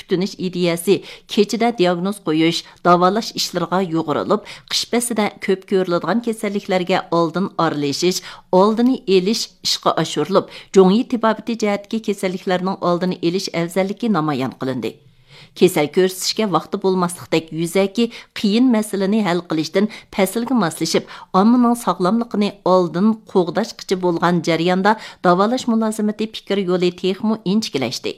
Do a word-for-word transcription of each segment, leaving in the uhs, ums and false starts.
كۈتۈنۈش ئىدىيەسى كېچىدە دىياگنوز قويۇش، داۋالاش ئىشلىرىغا يۇغۇرۇلۇپ، قىش پەسلىدە كۆپ كۆرۈلىدىغان كېسەللىكلەرگە ئالدىن ئارىلىشىش، ئالدىنى ئېلىش ئىشقا ئاشۇرۇلۇپ، جۇڭيى تېبابىتى جەھەتتىكى كېسەللىكلەرنىڭ ئالدىنى ئېلىش ئەۋزەللىكى نامايان قىلىندى. كېسەل كۆرسىتىشكە ۋاقتى بولماسلىقتەك يۈزەكى قىيىن مەسىلىنى ھەل قىلىشتىن پەسىلگە ماسلىشىپ، ئاممىنىڭ ساغلاملىقىنى ئالدىن قوغداشقىچە بولغان جەرياندا داۋالاش مۇلازىمىتى پىكىر يولى تېخىمۇ ئىنچىكىلەشتى.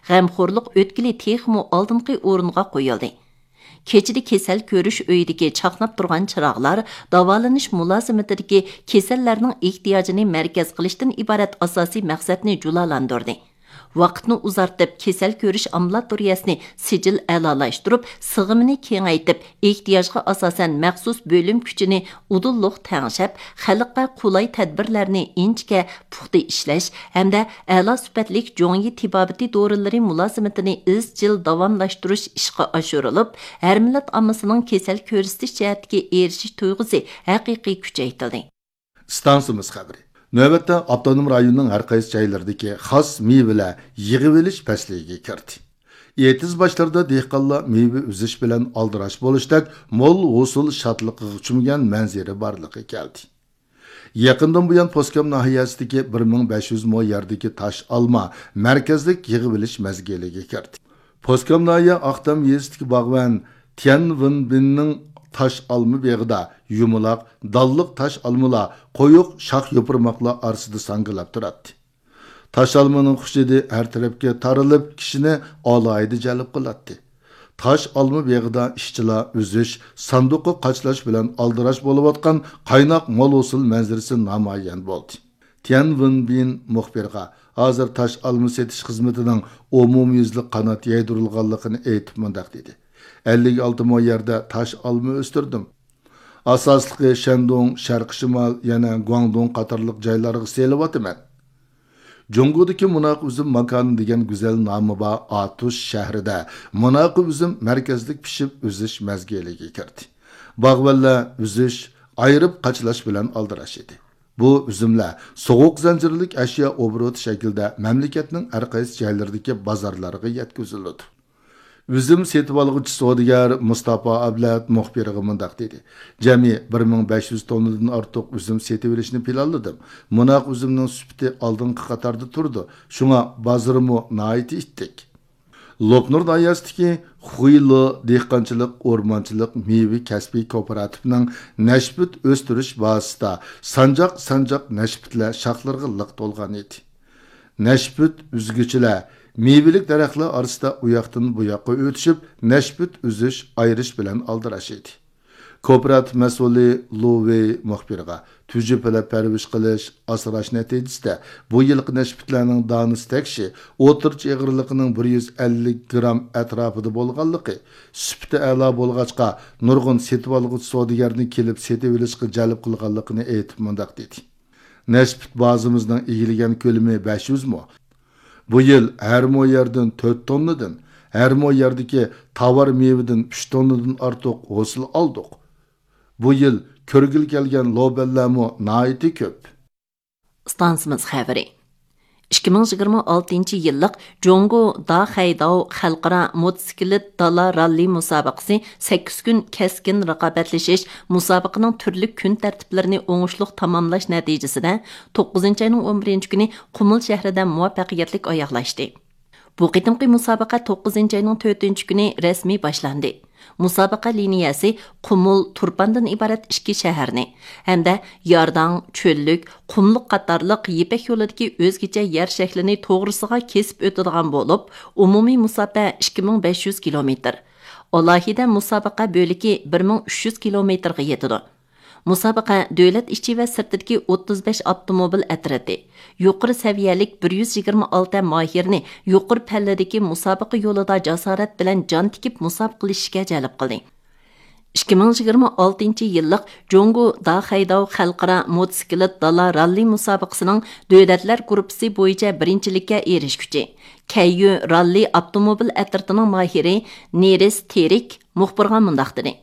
غەمخورلۇق ئۆتكىلى تېخىمۇ ئالدىنقى ئورۇنغا قويۇلدى. كېچىدە كېسەل كۆرۈش ئۆيىدىكى چاقناپ تۇرغان چىراغلار داۋالىنىش مۇلازىمىتىدىكى كېسەللەرنىڭ ئېھتىياجىنى مەركەز قىلىشتىن ئىبارەت ئاساسىي مەقسەتنى جۇلالاندۇردى. ۋاقىتنى ئۇزارتىپ، كېسەل كۆرۈش ئامبۇلاتورىيەسىنى سىجىل ئەلالاشتۇرۇپ، سىغىمىنى كېڭەيتىپ، ئېھتىياجغا ئاساسەن مەخسۇس بۆلۈم كۈچىنى ئۇدۇللۇق تەڭشەپ، خەلققە قولاي تەدبىرلەرنى ئىنچىكە، پۇختا ئىشلەش ھەمدە ئەلا سۈپەتلىك جۇڭيى تېبابىتى دورىلىرى مۇلازىمىتىنى ئىزچىل داۋاملاشتۇرۇش ئىشقا ئاشۇرۇلۇپ، ھەر مىللەت ئاممىسىنىڭ كېسەل كۆرسىتىش جەھەتتىكى ئېرىشىش تۇيغۇسى ھەقىقىي كۈچەيتىلدى. ئىستانسىمىز خەۋىرى. نۆۋەتتە ئاپتونوم رايوننىڭ ھەر قايسى جايلىرىدىكى خاس مېۋىلەر يىغىۋېلىش پەسلىگە كىردى. ئېتىز باشلىرىدا دېھقانلار مېۋە ئۈزۈش بىلەن ئالدىراش بولۇشتەك مول ھوسۇل شادلىقىغا چۆمگەن مەنزىرە بارلىققا كەلدى. يېقىندىن بۇيان، پوسكام ناھىيەسىدىكى بىر مىڭ بەش يۈز مو يەردىكى تاش ئالما مەركەزلىك يىغىۋېلىش مەزگىلىگە كىردى. پوسكام ناھىيە ئاقتام يېزىسىدىكى باغۋەن تيەن ۋېنبىننىڭ تاش ئالما بېغىدا يۇمىلاق، دانلىق تاش ئالمىلار قويۇق شاخ يوپۇرماقلار ئارىسىدا ساڭگىلاپ تۇراتتى. تاش ئالمىنىڭ خۇش ھىدى ھەر تەرەپكە تارىلىپ، كىشىنى ئالاھىدە جەلپ قىلاتتى. تاش ئالما بېغىدا ئىشچىلار ئۈزۈش، ساندۇققا قاچىلاش بىلەن ئالدىراش بولۇۋاتقان قايناق مول ھوسۇل مەنزىرىسى نامايان بولدى. تيەن ۋېنبىن مۇخبىرغا ھازىر تاش ئالما سېتىش خىزمىتىنىڭ ئومۇميۈزلۈك قانات يايدۇرۇلغانلىقىنى ئېيتىپ مۇنداق دېدى: ئەللىك ئالتە مو يەردە تاش ئالما ئۆستۈردۈم. ئاساسلىقى شەندۇڭ، شەرقىي شىمال، يەنە گۇاڭدۇڭ قاتارلىق جايلارغا سېلىۋاتىمەن. جۇڭگودىكى مۇناقى ئۈزۈم ماكانى دېگەن گۈزەل نامى بار ئاتۇش شەھىرىدە مۇناقى ئۈزۈم مەركەزلىك پىشىپ ئۈزۈش مەزگىلىگە كىردى. باغۋەنلەر ئۈزۈش، ئايرىپ قاچىلاش بىلەن ئالدىراش ئىدى. بۇ ئۈزۈملەر سوغۇق زەنجىرلىك ئەشيا ئوبوروتى شەكلىدە مەملىكەتنىڭ ھەر قايسى جايلىرىدىكى بازارلارغا يەتكۈزۈلىدۇ. ئۈزۈم سېتىۋالغۇچى سودىگەر مۇستاپا ئابلەت مۇخبىرغا مۇنداق دېدى: جەمئىي بىر مىڭ بەش يۈز توننىدىن ئارتۇق ئۈزۈم سېتىۋېلىشنى پىلانلىدىم. مۇناق ئۈزۈمنىڭ سۈپىتى ئالدىنقى قاتاردا تۇرىدۇ، شۇڭا بازىرىمۇ ناھايىتى ئىتتىك. لوپنۇر ناھىيەسىدىكى خۇيلو دېھقانچىلىق ئورمانچىلىق مېۋە كەسپىي كوپىراتىپىنىڭ نەشپۈت ئۆستۈرۈش بازىسىدا سانجاق-سانجاق نەشپۈتلەر شاخلىرىغا لىق تولغان ئىدى. نەشپۈت ئۈزگۈچىلەر مېۋىلىك دەرەخلەر ئارىسىدا ئۇياقتىن بۇياققا ئۆتۈشۈپ، نەشپۈت ئۈزۈش، ئايرىش بىلەن ئالدىراش ئىدى. كوپىراتىپ مەسئۇلى لۇ ۋېي مۇخبىرغا، تۈجۈپىلەپ پەرۋىش قىلىش، ئاسراش نەتىجىسىدە بۇ يىلقى نەشپۈتلەرنىڭ دانىسى تەكشى ئوتتۇرىچە ئېغىرلىقىنىڭ بىر يۈز ئەللىك گرام ئەتراپىدا بولغانلىقى، سۈپىتى ئەلا بولغاچقا، نۇرغۇن سېتىۋالغۇچى سودىگەرنى كېلىپ سېتىۋېلىشقا جەلپ قىلغانلىقىنى ئېيتىپ مۇنداق دېدى: نەشپۈت بازىمىزنىڭ ئىگىلىگەن كۆلىمى بەش يۈز مو. بۇ يىل ھەر مو يەردىن تۆت توننىدىن، ھەر مو يەردىكى تاۋار مېۋىدىن ئۈچ توننىدىن ئارتۇق ھوسۇل ئالدۇق. بۇ يىل كۆرگىلى كەلگەن لوبەنلەرمۇ ناھايىتى كۆپ. ئىستانسىمىز خەۋىرى. ئىككى مىڭ يىگىرمە ئالتىنچى يىللىق جۇڭگو داخەيداۋ خەلقئارا موتوسىكلىت دالا راللى مۇسابىقىسى سەككىز كۈن كەسكىن رىقابەتلىشىش، مۇسابىقىنىڭ تۈرلۈك كۈن تەرتىپلىرىنى ئوڭۇشلۇق تاماملاش نەتىجىسىدە، توققۇزىنچى ئاينىڭ ئون بىرىنچى كۈنى قۇمۇل شەھىرىدە مۇۋەپپەقىيەتلىك ئاياغلاشتى. بۇ قېتىمقى مۇسابىقە توققۇزىنچى ئاينىڭ تۆتىنچى كۈنى رەسمىي باشلاندى. مۇسابىقە لىنىيەسى قۇمۇل، تۇرپاندىن ئىبارەت ئىككى شەھەرنى ھەمدە يارداڭ، چۆللۈك، قۇملۇق قاتارلىق يىپەك يولىدىكى ئۆزگىچە يەر شەكلىنى توغرىسىغا كېسىپ ئۆتىدىغان بولۇپ، ئومۇمىي مۇساپە ئىككى مىڭ بەش يۈز كىلومېتىر، ئالاھىدە مۇسابىقە بۆلىكى بىر مىڭ ئۈچ يۈز كىلومېتىرغا يېتىدۇ. مۇسابىقە دۆلەت ئىچى ۋە سىرتىدىكى ئوتتۇز بەش ئاپتوموبىل ئەترىتى، يۇقىرى سەۋىيەلىك بىر يۈز يىگىرمە ئالتە ماھىرنى يۇقىرى پەللىدىكى مۇسابىقە يولىدا جاسارەت بىلەن جان تىكىپ مۇسابىقىلىشىشكە جەلپ قىلدى. ئىككى مىڭ يىگىرمە ئالتىنچى يىللىق جۇڭگو داخەيداۋ خەلقئارا موتوسىكلىت دالا راللى مۇسابىقىسىنىڭ دۆلەتلەر گۇرۇپپىسى بويىچە بىرىنچىلىككە ئېرىشكۈچى، كەييۈ راللى ئاپتوموبىل ئەترىتىنىڭ ماھىرى نېرىس تېرىك مۇخبىرغا مۇنداق دېدى: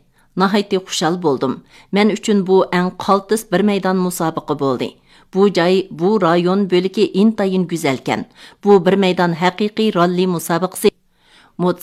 ناھايىتى خۇشال بولدۇم. مەن ئۈچۈن بۇ ئەڭ قالتىس بىر مەيدان مۇسابىقە بولدى. بۇ جاي، بۇ رايون بۆلىكى ئىنتايىن گۈزەلكەن. بۇ بىر مەيدان ھەقىقىي راللى مۇسابىقىسى. موتوسىكلىت